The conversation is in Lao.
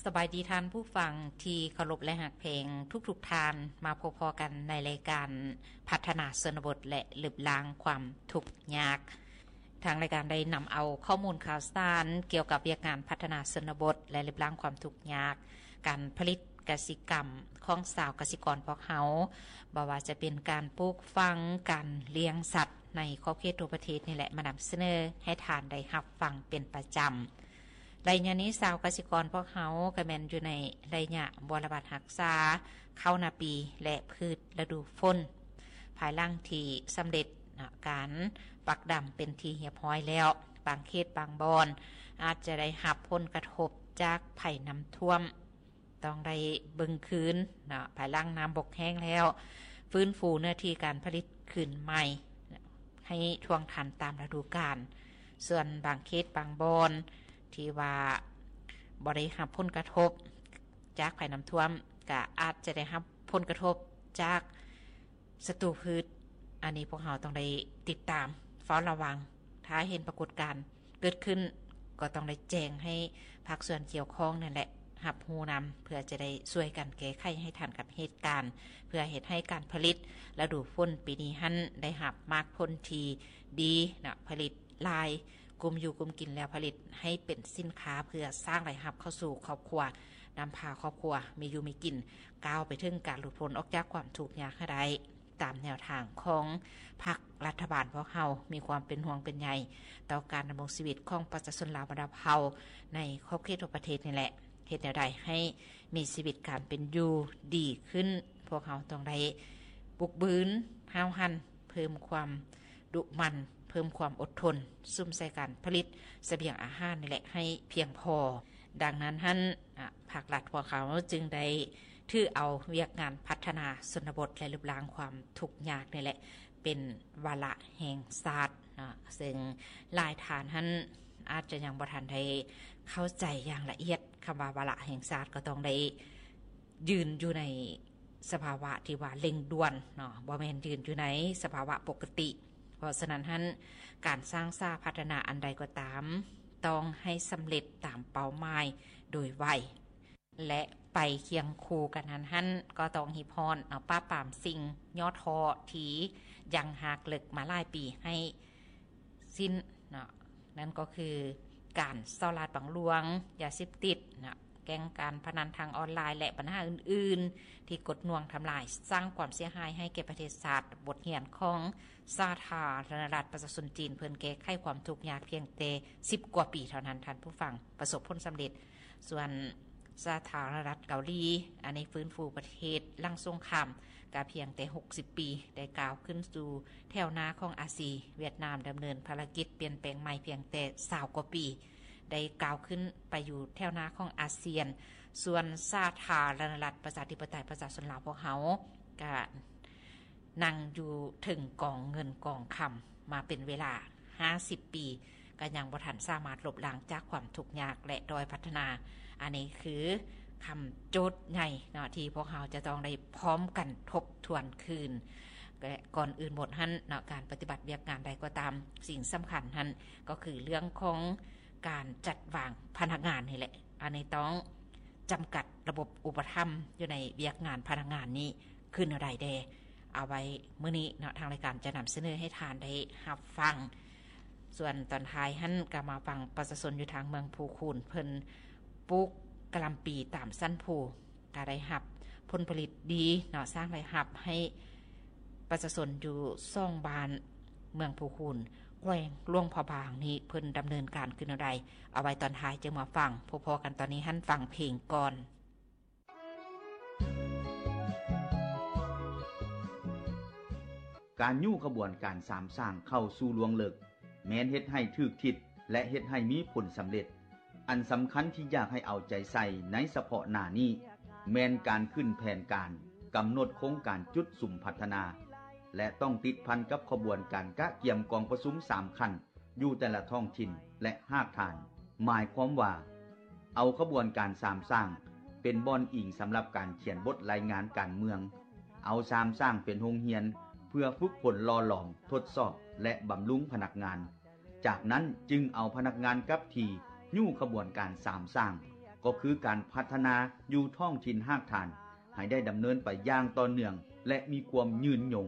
ສະບາຍດີທ່ານຜູ້ຟັງທີ່ເຄົາລົບ ແລະ ຮັກແພງທຸກໆທ່ານ, ມາພົບພໍ້ກັນໃນລາຍການພັດທະນາຊົນນະບົດ ແລະ ລຶບລ້າງຄວາມທຸກຍາກ. ທາງລາຍການໄດ້ນຳເອົາຂໍ້ມູນຂ່າວສານກ່ຽວກັບວຽກງານພັດທະນາຊົນນະບົດ ແລະ ລຶບລ້າງຄວາມທຸກຍາກ, ການຜະລິດກະສິກຳຂອງຊາວກະສິກອນພວກເຮົາ, ບໍ່ວ່າຈະເປັນການປູກຝັງ, ການລ້ຽງສັດໃນຂອບເຂດທົ່ວປະເທດນີ້ແຫຼະ ມານຳສະເໜີໃຫ້ທ່ານໄດ້ຮັບຟັງເປັນປະຈຳ. ໄລຍະນີ້ຊາວກະສິກອນພວກເຮົາກໍແມ່ນຢູ່ໃນໄລຍະບົວລະບັດຮັກສາເຂົ້ານາປີ ແລະ ພືດລະດູຝົນ, ພາຍຫຼັງທີ່ສຳເລັດນະ ການປັກດຳເປັນທີ່ຮຽບຮ້ອຍແລ້ວ, ບາງເຂດບາງບ່ອນອາດຈະໄດ້ຮັບຜົນກະທົບຈາກໄພນ້ຳຖ້ວມ, ຕ້ອງໄດ້ເບິ່ງຄືນນະ ພາຍຫຼັງນ້ຳບົກແຫ້ງແລ້ວ, ຟື້ນຟູເນື້ອທີ່ການຜະລິດຄືນໃໝ່ ໃຫ້ທ່ວງທັນຕາມລະດູການ. ສ່ວນບາງເຂດບາງບ່ອນທີ່ວ່າບໍ່ໄດ້ຮັບຜົນກະທົບຈາກໄພນ້ຳຖ້ວມ ກະອາດຈະໄດ້ຮັບຜົນກະທົບຈາກສັດຕູພືດ. ອັນນີ້ພວກເຮົາຕ້ອງໄດ້ຕິດຕາມເຝົ້າລະວັງ. ຖ້າເຫັນປາກົດການເກີດຂຶ້ນ ກໍຕ້ອງໄດ້ແຈ້ງໃຫ້ພາກສ່ວນກ່ຽວຂ້ອງນັ້ນແຫຼະຮັບຮູ້ນຳ ເພື່ອຈະໄດ້ຊ່ວຍກັນແກ້ໄຂໃຫ້ທັນກັບເຫດການ ເພື່ອເຮັດໃຫ້ການຜະລິດລະດູຝົນປີນີ້ຫັ້ນໄດ້ຮັບໝາກຜົນທີ່ດີນະ, ຜະລິດຫຼາຍ, ກຸ້ມຢູ່ກຸ້ມກິນແລ້ວຜະລິດໃຫ້ເປັນສິນຄ້າເພື່ອສ້າງລາຍຮັບເຂົ້າສູ່ຄອບຄົວ, ນຳພາຄອບຄົວມີຢູ່ມີກິນ, ກ້າວໄປເຖິງການຫຼຸດພົ້ນອອກຈາກຄວາມທຸກຍາກໃຫ້ໄດ້. ຕາມແນວທາງຂອງພັກລັດຖະບານ ພວກເຮົາມີຄວາມເປັນຫ່ວງເປັນໃຍຕໍ່ການດຳລົງຊີວິດຂອງປະຊາຊົນລາວບັນດາເຜົ່າໃນຂອບເຂດທົ່ວປະເທດນີ້ແຫຼະ. ເຮັດແນວໃດໃຫ້ມີຊີວິດການເປັນຢູ່ດີຂຶ້ນ, ພວກເຮົາຕ້ອງໄດ້ບຸກບືນ, ຫ້າວຫັນ, ເພີ່ມຄວາມດຸໝັ່ນ, ເພີ່ມຄວາມອົດທົນ, ສຸມໃສ່ການຜະລິດສະບຽງອາຫານນີ້ແຫຼະໃຫ້ພຽງພໍ. ດັ່ງນັ້ນຫັ້ນ ອາ ພາກລັດພວກເຮົາຈຶ່ງໄດ້ຖືເອົາວຽກງານພັດທະນາຊົນນະບົດ ແລະ ລຶບລ້າງຄວາມທຸກຍາກນີ້ແຫຼະ ເປັນວາລະແຫ່ງຊາດເນາະ, ເຊິ່ງຫຼາຍທ່ານຫັ້ນອາດຈະຍັງບໍ່ທັນໄດ້ເຂົ້າໃຈຢ່າງລະອຽດ. ຄຳວ່າວາລະແຫ່ງຊາດກໍຕ້ອງໄດ້ຢືນຢູ່ໃນສະພາວະທີ່ວ່າເລັ່ງດ່ວນເນາະ, ບໍ່ແມ່ນຢືນຢູ່ໃນສະພາວະປົກກະຕິ. ເພາະສະນັ້ນຫັ້ນ ການສ້າງສາພັດທະນາອັນໃດກໍຕາມ ຕ້ອງໃຫ້ສຳເລັດຕາມເປົ້າໝາຍໂດຍໄວ ແລະ ໄປຄຽງຄູ່ກັນນັ້ນຫັ້ນ ກໍຕ້ອງຮີບຮ້ອນເອົາປາບປາມສິ່ງຫຍໍ້ທໍ້ທີ່ຍັງຮາກເລິກມາຫຼາຍປີໃຫ້ສິ້ນເນາະ, ນັ້ນກໍຄືການສໍ້ລາດບັງຫຼວງ, ຢາເສບຕິດເນາະ, ແກ້ງການພະນັນທາງອອນລາຍ ແລະ ບັນຫາອື່ນໆ ທີ່ກົດໜ່ວງທຳລາຍ, ສ້າງຄວາມເສຍຫາຍໃຫ້ແກ່ປະເທດຊາດ. ບົດຮຽນຂອງສາທາລະນະລັດປະຊາຊົນຈີນ ເພິ່ນແກ້ໄຂຄວາມທຸກຍາກພຽງແຕ່ສິບກວ່າປີເທົ່ານັ້ນ, ທ່ານຜູ້ຟັງ, ປະສົບຜົນສຳເລັດ. ສ່ວນສາທາລະນະລັດເກົາຫຼີ ອັນນີ້ຟື້ນຟູປະເທດຫຼັງສົງຄາມ ກະພຽງແຕ່ຫົກສິບປີ ໄດ້ກ້າວຂຶ້ນສູ່ແຖວໜ້າຂອງອາຊີ. ຫວຽດນາມດຳເນີນພາລະກິດປ່ຽນແປງໃໝ່ພຽງແຕ່ຊາວກວ່າປີ ໄດ້ກ້າວຂຶ້ນໄປຢູ່ແຖວໜ້າຂອງອາຊຽນ. ສ່ວນສາທາລະນະລັດປະຊາທິປະໄຕປະຊາຊົນລາວພວກເຮົາ ກະນັ່ງຢູ່ເທິງກອງເງິນກອງຄຳມາເປັນເວລາຫ້າສິບປີ ກໍຍັງບໍ່ທັນສາມາດລົບລ້າງຈາກຄວາມທຸກຍາກ ແລະ ດ້ອຍພັດທະນາ. ອັນນີ້ຄືຄຳໂຈດໃຫຍ່ເນາະ ທີ່ພວກເຮົາຈະຕ້ອງໄດ້ພ້ອມກັນທົບທວນຄືນ. ແລະ ກ່ອນອື່ນໝົດຫັ້ນເນາະ ການປະຕິບັດວຽກງານໃດກໍຕາມ, ສິ່ງສຳຄັນຫັ້ນກໍຄືເລື່ອງຂອງການຈັດວາງພະນັກງານນີ້ແຫຼະ. ອັນນີ້ຕ້ອງຈຳກັດລະບົບອຸປະຖຳຢູ່ໃນວຽກງານພະນັກງານນີ້ຄືແນວໃດແດ່. ເອົາໄວ້ມື້ນີ້ເນາະ ທາງລາຍການຈະນຳສະເໜີໃຫ້ທ່ານໄດ້ຮັບຟັງ. ສ່ວນຕອນທ້າຍຫັ້ນ ກໍມາຟັງປະຊາຊົນຢູ່ທາງເມືອງພູຄູນ ເພິ່ນປູກກະຫຼ່ຳປີຕາມຊັ້ນພູ ກໍໄດ້ຮັບຜົນຜະລິດດີເນາະ, ສ້າງລາຍຮັບໃຫ້ປະຊາຊົນຢູ່ສອງບ້ານ ເມືອງພູຄູນ ແຂວງຫຼວງພະບາງນີ້ ເພິ່ນດຳເນີນການຄືແນວໃດ. ເອົາໄວ້ຕອນທ້າຍຈຶ່ງມາຟັງ. ພົບພໍ້ກັນຕອນນີ້ຫັ້ນ ຟັງເພງກ່ອນ. ການຍູ້ຂະບວນການສາມສ້າງເຂົ້າສູ່ລວງເລິກ ແມ່ນເຮັດໃຫ້ຖືກທິດ ແລະ ເຮັດໃຫ້ມີຜົນສຳເລັດ. ອັນສຳຄັນທີ່ຢາກໃຫ້ເອົາໃຈໃສ່ໃນສະເພາະໜ້ານີ້ ແມ່ນການຂຶ້ນແຜນການ, ກຳນົດໂຄງການຈຸດສຸມພັດທະນາ ແລະ ຕ້ອງຕິດພັນກັບຂະບວນການກະກຽມກອງປະຊຸມສາມຂັ້ນ ຢູ່ແຕ່ລະທ້ອງຖິ່ນ ແລະ ຮາກຖານ. ໝາຍຄວາມວ່າ ເອົາຂະບວນການສາມສ້າງເປັນບ່ອນອີງສຳລັບການຂຽນບົດລາຍງານການເມືອງ, ເອົາສາມສ້າງເປັນໂຮງຮຽນເພື່ອຝຶກຝົນຫຼໍ່ຫຼອມ, ທົດສອບ ແລະ ບຳລຸງພະນັກງານ. ຈາກນັ້ນຈຶ່ງເອົາພະນັກງານກັບທີ່ຍູ້ຂະບວນການສາມສ້າງ. ກໍຄືການພັດທະນາຢູ່ທ້ອງຖິ່ນຮາກຖານ ໃຫ້ໄດ້ດຳເນີນໄປຢ່າງຕໍ່ເນື່ອງ ແລະ ມີຄວາມຍືນຍົງ.